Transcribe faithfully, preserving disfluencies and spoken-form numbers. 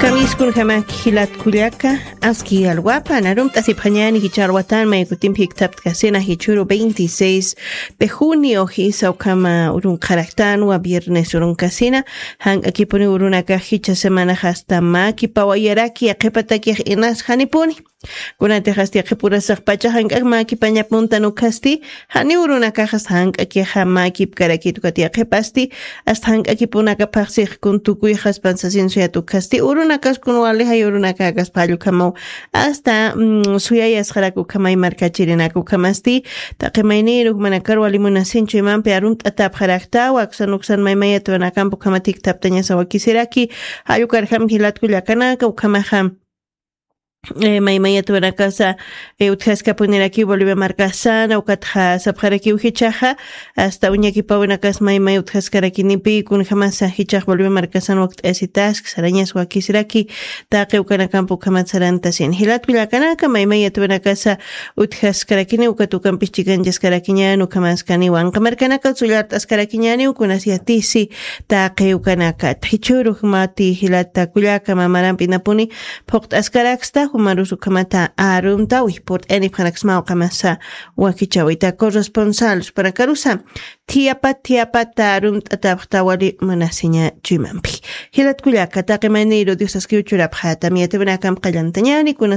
Amiskunjama jilat kullaka, aski alwapan arumt'asipxañani jichha alwatan maykutimpi jiktaptkasina jichhuru veintiséis de junio jisa ukhama urunqaraktanwa viernes urunkasina. Jank'akipuni urunakax jichha semanax asta makipawayaraki yaqhipatakix inas janipuni. Kunatix asta yaqhipurasax pacha jank'ak makipañapuntan ukhasti, jani urunakaxas jank'akixa makipkarakit ukat yaqhipasti, asta jank'akipunakapaxsix kun tukuyxaspan sasin suyat ukhasti urunakas kun wali jay urunakakas phallukhamaw asta suyayasxarak ukhamay markachirinak ukhamasti. Taqi mayniru jumanakar wali munasinchu imampi arumt'atapxaraktawa aksan uksan maymayatwanakamp ukhamatik thaptañasa wakisiraki. Jallukar jam jilatku llakanaka ukhamaxam maymayatwanakasa utjaskapunirakiw bolivia markasana ukatxa sapxarakiw jichaxa asta uñakipawinakas maymay utjaskarakinipi kunjamasa jichax bolivia markasan wakt'ayasitask sarañas wakisiraki. Taqi ukanakamp ukhamat sarantasin jilatku llakanaka maymayatwanakasa utjaskarakini ukat ukampis chikanchaskarakiñan ukhamaskaniwa anqamarkanaka sullart'askarakiñaniw kunas yatisi. Taqi ukanaka txichhurux mati jilata kullaka mamarampinapuni phuqt'askaraksta jumarus ukhamata arumtawi purt'ayanipxanaksmaw qamasa wakichawita corresponsal supanakarusa. Thiyapat thiyapat arumt'atapxta wali munasiña chuymampi. Jilat kullaka taqi mayniru diosaskiw churapxata miyatiwinakamp qallantañani kuna